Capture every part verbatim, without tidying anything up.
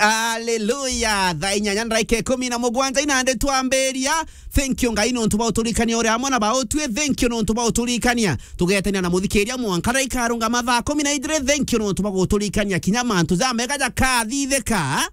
Hallelujah. Thaa inyanya na ndagika ikumi na mugwanja inandi twambiria. Thank you, Ngai, nontu bwa uturikania uri amwe na bautwi. Thank you nontu bwa uturikania. Tugetania na muthikiria mwanka ndagika arungama thaa kumi na ijiri. Thank you nontu bwa guturikania kinya mantu jamega jakathithika.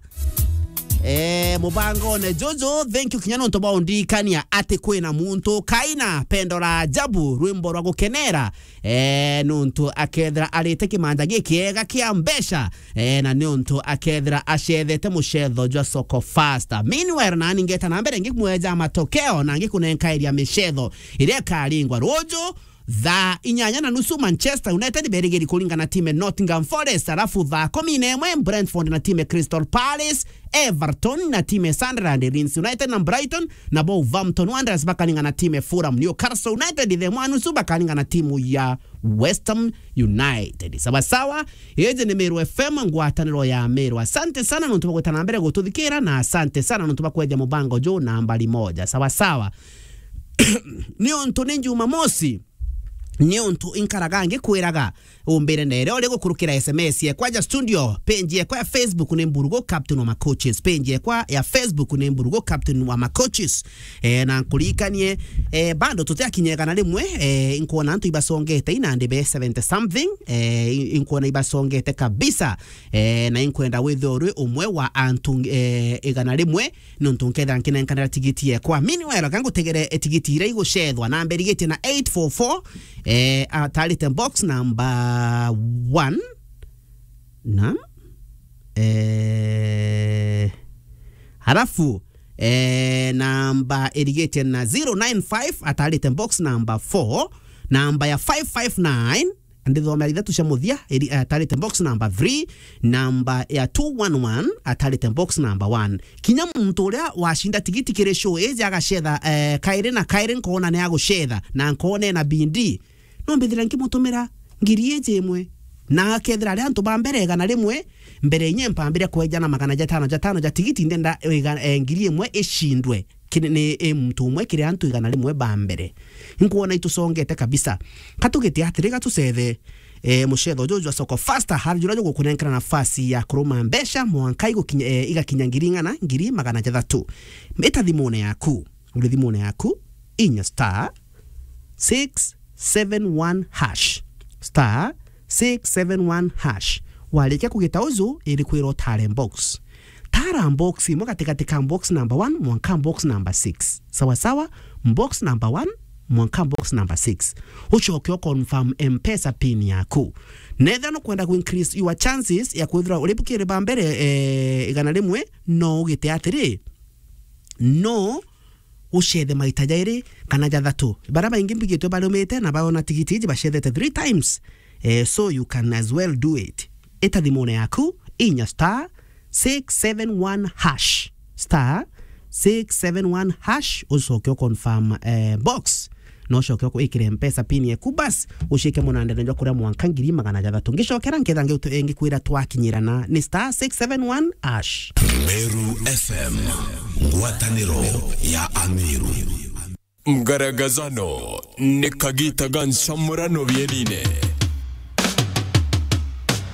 Eh, mubangone juju, thank you kinya nontu bwa undirikania ati kwina muntu kaina pendo la ajabu, rwimbo rwa gukenera. Eh, nontu akethira arite kimanja gikiega kia mbeca, eh, na nontu akethira acethete mucetho jwa Soko Fasta. Meanwhile, nani ngeta na mbere ngimweja matokeo na ngikunenkairia micetho iria ikaringwa ruju. Thaa inyanya na nusu, Manchester United berigiri kuringana na timu ya Nottingham Forest, alafu thaa kumi na imwe, Brentford na timu ya Crystal Palace, Everton na timu ya Sunderland, Leeds United na Brighton, na Wolverhampton Wanderers bakaringana na timu ya Fulham. Newcastle United thaa imwe na nusu bakaringana na timu ya West Ham United. Sawa sawa, iji ni Meru F M, ngwataniro ya Meru. Asante sana nontu bwa gwita na mbere gututhikira, na asante sana nontu bwa kweja mubango juu nambari moja. Sawa sawa. Ni untu ni Jumamosi, ni untu inkaraga ngikwiraga umbire ndere uri gukurukira S M S yekwa ja studio, page yekwa ya Facebook ni Mburugu Captain wa Macoaches, page yekwa ya Facebook ni Mburugu Captain wa Macoaches. Eh, na nkuririkanie, eh, bado tutiakinya igana rimwe, eh, inkwona antu ibasongete inandi be seventy something, eh, in-, inkwona ibasongete kabisa, eh, na inkwenda withirwe uri umwe wa antu, eh, igana rimwe, nontu nkethira nkinenkanira tigiti yekwa. Meanwhile, ka ngutegere, eh, tigiti iria igucethwa, namba irigitie na eight four four, eh, atarite box number one, na, eh, halafu, eh, namba irigitie na zero nine five, atarite box number four, namba ya five five nine, ndithomera ithatu cia muthia, iri-, eh, atarite box number three, namba ya two one one, atarite box number one. Kinya muntu uria wacinda tigiti kiri show iji agacetha, eh, kairi na kairi, nkoona ni agucetha, na nkoona ena bindi. No mbithira nkimutumira ngiri iji imwe. Na akethira ari antu ba mbere igana rimwe, mbere inye mpambire kweja na magana jatano, jatano ja tigiti, ndenda iga-, eh, ngiri imwe icindwe. Kiri ni, i muntu umwe kiri antu igana rimwe ba mbere. Nkwona itusongete kabisa. Ka tugite atiri, ka tucethe, eh, mucetho juju jwa Soko Fasta, hari juria jugukunenkera nafasi ya kuruma mbeca mwanka igukinya, eh, igakinya ngiri ing'ana, ngiri magana jathatu. Ita thimune yaku, uri thimune yaku, inya star six seven one hash. Star six seven one hash. Warikia kugita uju, irikwira utare box. Tara box imwe gatigati ka box number one mwanka box number six. Sawa sawa, box number one mwanka box number six. Ucoke u confirm M-Pesa pin yaku. Netha nukwenda ku increase your chances ya kwithira uri bukiri ba mbere, eh, igana rimwe, no ugite atiri, no ucethe maita jairi kana jathatu. Baria baingi mbigitwe barumite na baona tigiti iji bacethete three times. Eh, so you can as well do it. Ita thimune yaku, inya star six seven one hash. Star six seven one hash, ucoke u confirm, eh, box. No ucoke uku-, ikire M-Pesa pin yaku, bas, ucike munandene jwa kuria mwanka ngiri magana jathatu. Ngicokera nketha ngi-, ngikwira twakinyirana ni star six seven one hash. Meru F M, ngwataniro ya Ameru. Ngaragazano ni kagita ga ncamurano bienine.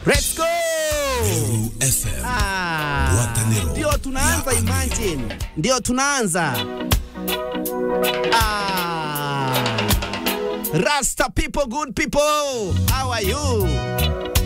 Let's go! Meru F M, ah, ngwataniro ndio tunaanza ya Ameru. Imagine. Ndio tunaanza. Ah. Rasta people, good people. How are you?